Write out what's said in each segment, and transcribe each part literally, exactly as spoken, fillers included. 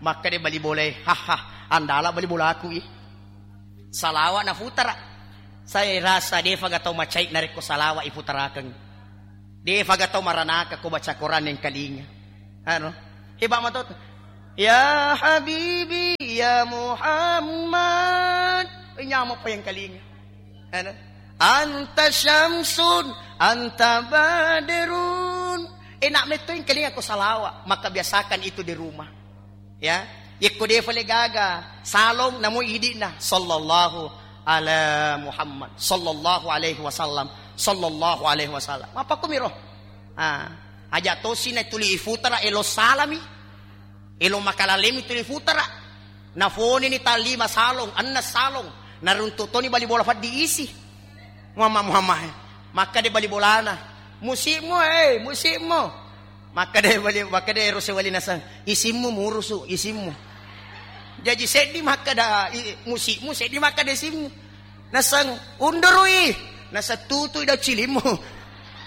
Makkeda bali bolae, "Haha, andala bali bolaku i." Salawa nafutara. Saya rasa defa ga tau macai narekko salawa iputarakeng. Defa ga tau maranaka ko baca Quran engkalinga. Anu, heba mato. "Ya Habibi, ya Muhammad." Eh, nyameng pa engkalinga. Anu, "Anta syamsun, anta badrun." Enak metto engkalinga ko salawa, maka biasakan itu di rumah. Ya, yekko defa le gaga, salong namo idi'na, "Sallallahu ala Muhammad, sallallahu alaihi wasallam, sallallahu alaihi wasallam." Apa kumiro? Ah, aja tosi na tuli ifutara elo salami. Elo makalalemi tuli futara. Nafonini tallima salong, anna salong. Naruntuk toni bali bola faddi isi. Muhammad, Muhammad. Makkeda bali bolana. "Musikmu, eh, musikmu." Makkeda bali, makkeda ero sewali nasang, "Isimmu murusu, isimmu." Jaji seddi makkeda i-, musikmu, seddi makkeda isimmu. Nasang, "Undurui." Nasang, "Tutui dau cilimmu."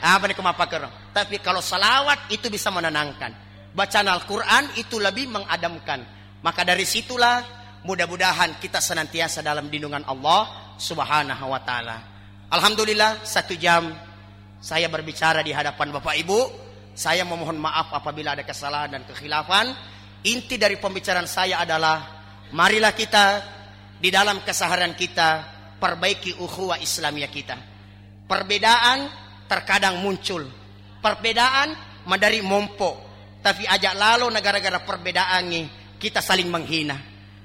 Apa ni ko mappakero? Tapi kalau salawat itu bisa menenangkan. Bacaan Al-Quran itu lebih mengademkan. Maka dari situlah mudah-mudahan kita senantiasa dalam lindungan Allah Subhanahu wa Ta'ala. Alhamdulillah, satu jam saya berbicara di hadapan Bapak Ibu. Saya memohon maaf apabila ada kesalahan dan kekhilafan. Inti dari pembicaraan saya adalah, marilah kita di dalam keseharian kita perbaiki ukhuwah Islamiyah kita. Perbedaan terkadang muncul. Perbedaan madari mompo. Tapi ajak lalo na gara-gara perbedaannya kita saling menghina.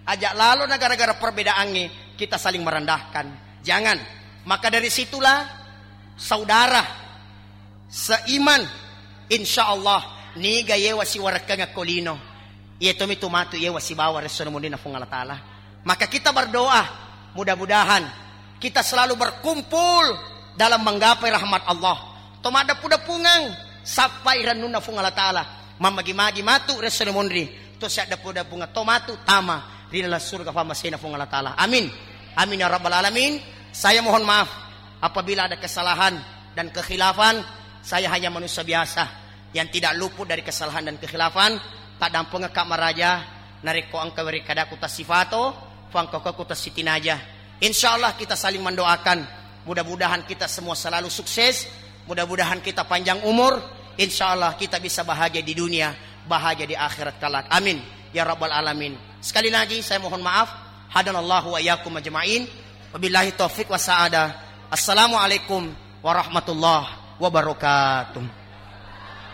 Ajak lalo na gara-gara perbedaannya kita saling merendahkan. Jangan. Maka dari situlah saudara seiman, insya Allah, niga yewa siwarekkeng ko lino, iya tomi tu matu yewa sibawa resso na munrinna Puang Allah Ta'ala. Maka kita berdoa, mudah-mudahan kita selalu berkumpul dalam menggapai rahmat Allah. To maddepu-depungeng, sappai rennunna Puang Allah Ta'ala. Mammagi-magi matu resso na munri, to siaddepu-depungeng, to matu tama ri dalam surga pamasena Puang Allah Ta'ala. Amin. Amin ya rabbal alamin. Saya mohon maaf apabila ada kesalahan dan kekhilafan. Saya hanya manusia biasa yang tidak luput dari kesalahan dan kekhilafan. Taddampengekka maraja, narekko engka werekkadaku tassifato, fangkokku tassitinaja. Insya Allah kita saling mendoakan. Mudah-mudahan kita semua selalu sukses. Mudah-mudahan kita panjang umur. Insya Allah kita bisa bahagia di dunia, bahagia di akhirat kelak. Amin ya rabbal alamin. Sekali lagi saya mohon maaf. Hadanallahu wa iyyakum ajma'in. Wabillahi taufiq wa sa'adah. Assalamualaikum warahmatullahi wabarakatuh.